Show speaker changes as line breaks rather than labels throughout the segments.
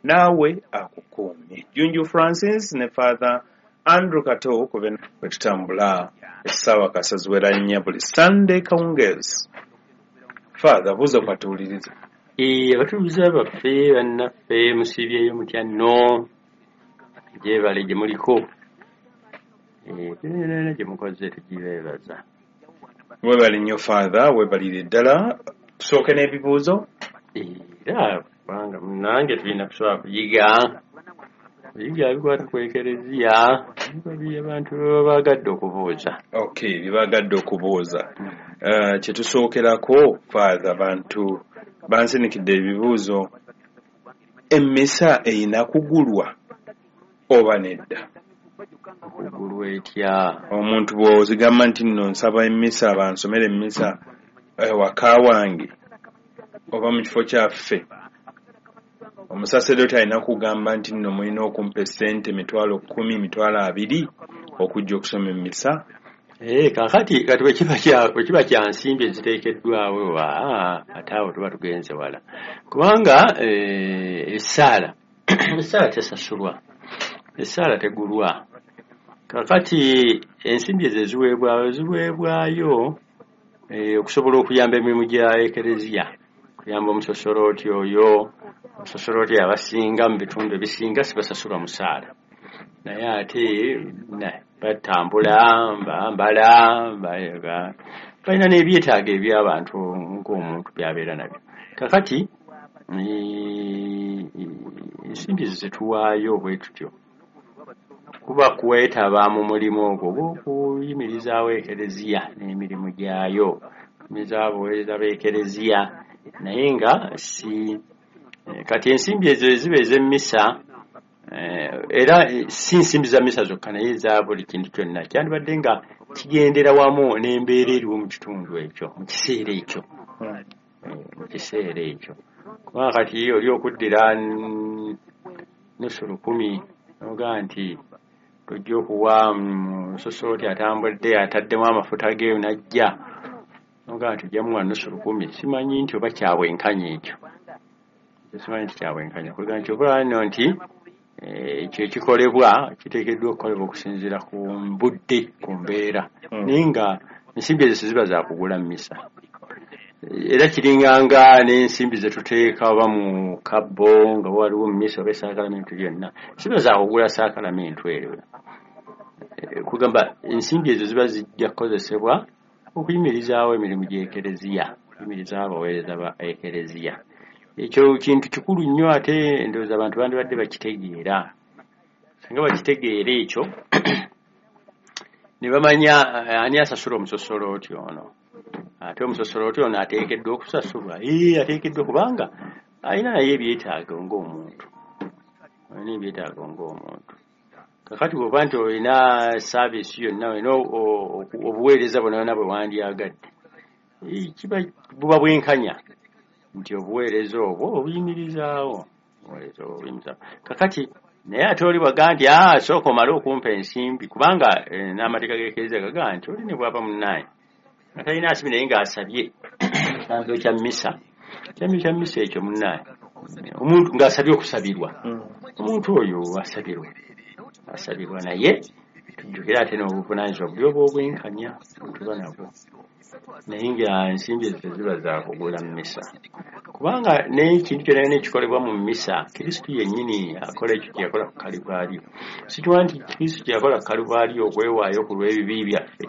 Naawe akukuumye. Junju Francis ne Father Andrew Kato kuve bwe tutambula essaawa kasaziwera nnya buli Sunday kawungeezi. Father, buuza kwatuwuliriza.
Abatuuze baffe bannaffe, musiibyeyo mutya nno? Gyebale gye muliko, era gye mukoze tugibeebaza.
Weebale nnyo Father, weebalire ddala. Tusooke n'ebibuuzo.
Era kubanga munnange tulina kusobola kuyiga bikwata ku Ekereziya, abantu baba baagadde okubuuza.
Okay, byebagadde okubuuza. Kyetusookerako Father, bantu bansinikidde ebibuuzo. Emmisa erina kugulwa oba nedda?
Okugulwa etya?
Omuntu bw'ozigamba nti nno nsaba emmisa, bansomere emmisa waka wange oba mu kifo kyaffe, omusaseredoti alina kugamba nti nno mulina okumpa essente 10,000, 20,000 okujja okusoma emmisa?
Kaakati kati bwe kiba kya nsimbi eziteekeddwawo, ate awo tuba tugenze wala, kubanga essaala tesasulwa, essaala tegulwa. Kaakati ensimbi ezo eziweebwayo ziweebwayo okusobola okuyamba emirimu gya Ekereziya, kuyamba omusosolooti oyo. Omusosolooti abasinga mu bitundu ebisinga sibasasulwa musaala, naye ate batambula, bambala, balina n'ebyetaago eby'abantu ng'omuntu by'abeera nabyo. Kakati ensimbi ezo zetuwaayo bwe tutyo kuba kwetaba mu mulimu ogwo ogw'okuyimirizaawo Ekereziya n'emirimu gyayo, kuyimirizaawo abaweereza b'Ekereziya. Naye nga si kati ensimbi ezo eziba ez'emmisa, era si nsimbi za misa zokka, naye eza buli kintu kyonna kyandibadde nga kigendera wamu n'embeera eriwo mu kitundu ekyo mu kiseera ekyo. Mu kiseera ekyo, kubanga kati oli okuddira 50 nogaa nti tojja okuwa musosooti atambudde ataddemu amafuta ge najja, nogaa nti ojja muwa 50, simanyi nti oba kyabwenkanya ekyo. Simanyi nti kyabwenkanya kuga nti oba nno nti ekyo ekikolebwa kiteekeddwa okukolebwa okusinziira ku budde, ku mbeera. Naye nga ensimbi ezo teziba za kugula mmisa. Era kiringanga n'ensimbi zetuteeka oba mu kabbo nga waliwo mmisa oba esaakalamentu lyonna, ziba za kugula saakalamentu eryo. Kugamba ensimbi ezo ziba zijja kukozesebwa okuyimirizaawo emirimu gy'Ekereziya, okuyimirizaawo abaweereza ba Ekereziya. Ekyo kintu kikulu nnyo, ate ndowooza abantu bandibadde bakitegeera. Singa bakitegeera ekyo ne bamanya ani asasula omusosolooti ono, ate omusosolooti ono ateekeddwa okusasulwa, ee, ateekeddwa, kubanga alina naye ebyetaago ng'omuntu, alina ebyetaago ng'omuntu. Kakati bw'oba nti olina service yonna, olina obuweereza bwonna bwonna bwe wandyagadde, kiba buba bwenkanya nti obuweereza obwo obuyimirizaawo, obuweereza obwo obuyimirizaawo. Kakati naye ate oli bwaga nti aa, sooka omale okumpa ensimbi, kubanga n'amateeka g'Ekereziya gagaa nti oli ne bw'aba munnaye nga talina nsimbi naye ng'asabye ekitambiro kya mmisa, ekitambiro kya mmisa ekyo munnaye, omuntu ng'asabye okusabirwa, omuntu oyo asabirwa, asabirwa. Naye tujjukire ate n'obuvunaanyizibwa buli obw'obwenkanya bwe tuba nabwo. Naye nga ensimbi ezo teziba za kugula mmisa, kubanga n'ekintu kyonna kyonna ekikolebwa mu mmisa, Kristu yennyini akola ekyo kye yakola ku Kalivaaliyo. Sikiwa nti Kristu kye yakola ku Kalivaaliyo okwewaayo ku lw'ebibi byaffe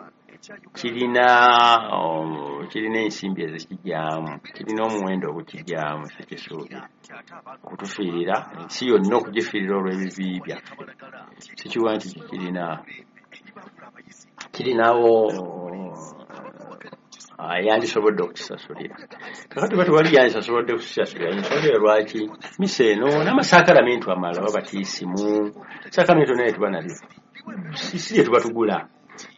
kirina kirina ensimbi ezikijyamu, kirina omuwendo ogukijyamu. Sikisuubira okutufiirira ensi yonna, okugifiirira olw'ebibi byaffe, sikiwa nti kirinawo yandisobodde okukisasulira. Kakati ba tewali yandisasobodde kukisasulira, ensonga eyo lwaki misa eno n'amasakalamentu amalala, babatiisimu, sakalamentu naye tuba nabyo, si lye tuba tugula.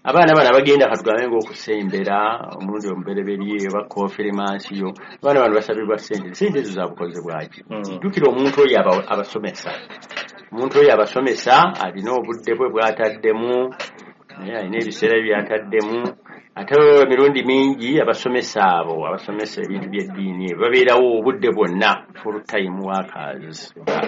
Abaana bano abagenda, katugambe ng'okusembera omulundi omubereberye oba konfirimansiyo, abaana bano basabibwa sente. Sente ezo zabukoze bwaki? Jjukira omuntu oyo abasomesa, omuntu oyo abasomesa alina obudde bwe bw'ataddemu, naye alina ebiseera bye by'ataddemu. Ate emirundi mingi abasomesa abo abasomesa ebintu by'eddiini ebyo babeerawo obudde bwonna, full time workers.